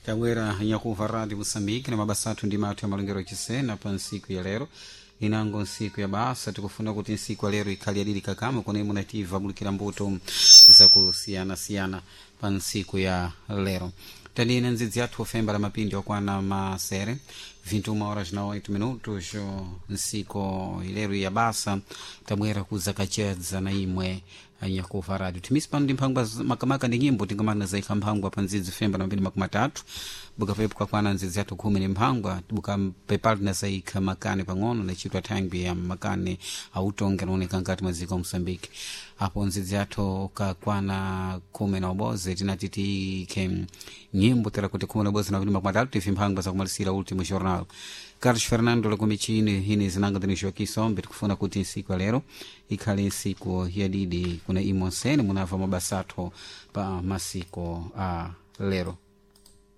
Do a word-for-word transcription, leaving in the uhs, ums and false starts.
Tabwera nyakuva Rádio Moçambique na mabasa athu ndi mathu ya malongero achisena pa ntsiku ya lero, inango ntsiku ya basa. Tikufuna kuti ntsiku ya lero ikhale yadili kakama kone munativa bulikira mbuto zakusiyanasiyana pa ntsiku ya lero. Tandine ndzidzi athu ofemba la mapindi okwana masere vinte e uma horas na oito minutos nsiku ilero ya basa. Tabwera kuzakachedza na imwe anyakuva radio timisi pano ndi mphangwa makamaka ndi nyimbo tingamana zaikha mphangwa pa ndzidzi femba na mapindi makumi atatu bukapepo kakwana ndzidzi athu khumi ni mphangwa bukapepali na zaikha makani pang'ono na chitwa thangwi ya makani autonge anaoneka nkati mwa dziko Moçambique. Apo ndzidzi athu kakwana khumi na ubozi tinati tiikhe nyimbo tera kuti khumi na ubozi na mapindi makumi atatu tifi mphangwa zakumalisira último jornal. Carlos Fernando lakumichini hini zinanga tinixoki sombe. Tikufuna kuti nsiku ya lero ikhale nsiku yadidi kuna imonsene munava mabasa athu pa masiko a lero.